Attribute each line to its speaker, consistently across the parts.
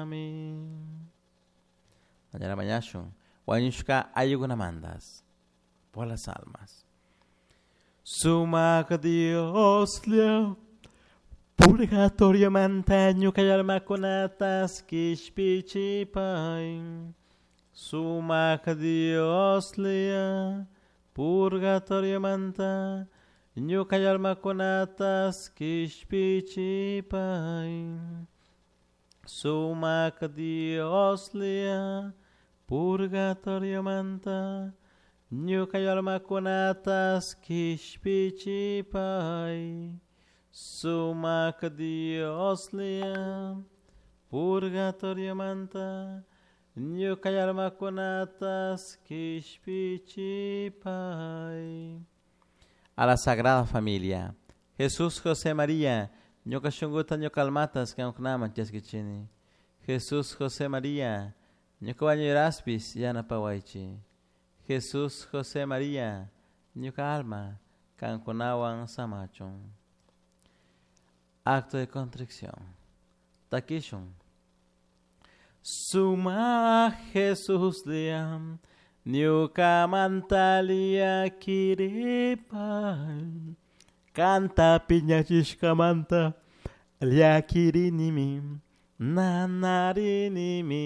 Speaker 1: Amén. Mañana mañashun wañushka ayukunamantas por las almas. Sumak Dioslla purgatoriomanta ñuka almakunatas kishpichipay. Sumak Dioslla purgatoriomanta ñuka almakunatas kishpichipay. Sumak Dioslla purgatoriomanta ñuka almakunatas kishpichipay. Sumak Dioslla purgatoriomanta ñuka almakunatas kishpichipay. A la Sagrada Familia. Jesús, José, María, ñuka shunkuta ñuka almatas kankunaman chaskichini. Jesús, José, María, ñuka wañuraspis yanapawaychi. Jesús, José, María, ñuka alma kankunawan samachun. Acto de contrición. Takishun. Suma Jesús liam, ñuka mantalia kiripay. Kanta piñachishkamanta llakirinimi, nanarinimi,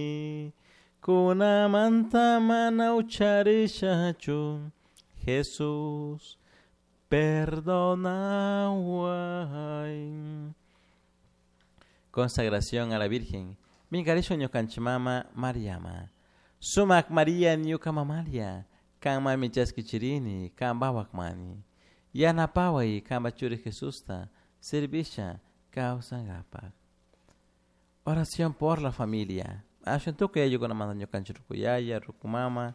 Speaker 1: kunamanta mana ucharishachu. Jesús, perdonaway. Consagración a la Virgen. Minkarishu ñukanchik mama Mariama. Sumak María ñuka mamalia. Kan mami chaskichirini, kan mani. Yanapaway kanpa churi Jesusta servisha kawsankapak. Oración por la familia. Ashwan tukuy ayllukunamanta ñukanchik ruku yaya, ruku mama,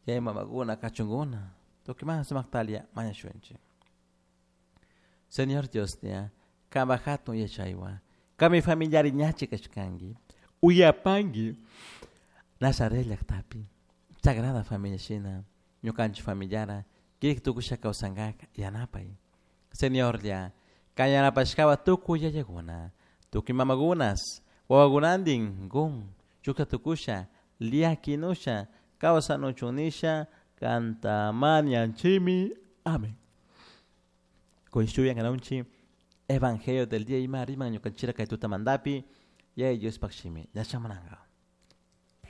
Speaker 1: yaya mamakuna, kachunkuna. Tukuymanta sumaktalia mañashunchik. Señor Dioslla, kanpak hatun yachaywan, kami familiari ñachi kashkanki, uyapanki Nazaret llaktapi, Sagrada Familia shina, ñukanchik familiara, kirik tukusha kawsankaka yanapay. Señorlla, kan yanapashkawa tukuy yayakuna, tukuy mamakunas, wawakunantin kun, shukta tukusha, llakinusha, kawsanuchun nisha, kanta mañanchimi. Amén. Kuy Evangelio del día ima riman ñukanchira kay tutamantapi, Yaya Diospaj shimi, yachamunanka.